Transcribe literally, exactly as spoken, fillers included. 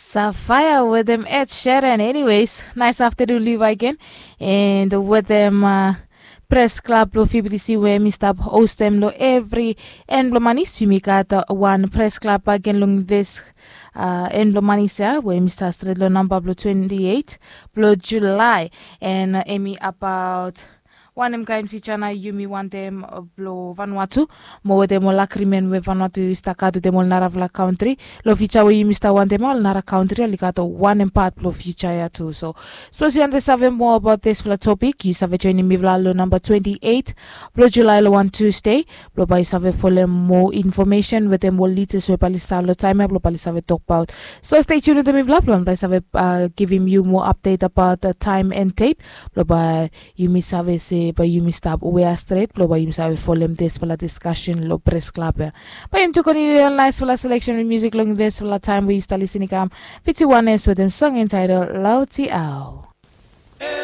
Safaya wetem Ed Sheeran. Anyways, nice afternoon Levi again. And wetem uh, press club lo F B T C we mi stap hostem lo every end blo manis, yumi gat uh, one press club again long this uh, end blo manis ya we mi stap stret lo number blo twenty-eight blo July. And uh, emi about wanem kain ficha na yumi wantem blo Vanuatu mo wetem ol agrimen we Vanuatu i stap gat wetem ol narafala kantri. Lo ficha we yumi stap wantem ol nara kantri oli gat wanem pat blo ficha ya tu. So sapos yu wantem save moa abaot disfala topik, yu save joinim mifala lo namba twenty-eight blo Julai lo wan Tuesday blo bae yu save folem moa infomesen wetem ol lidas we bae oli stap lo taem ya blo bae oli save tokbaot. So stay tuned wetem mifala blo bae yu save uh, givim yu moa update abaot uh, taem and date blo bae yumi save se bae yumi stap wea stret blo bae yumi save folem disfala diskasen lo pres klab ya. Bae yumi tu kontiniu ol naisfala seleksen blo musik long disfala taem we yu stap lisin i kam. Fifty-one s wetem song entitled Lauti Au.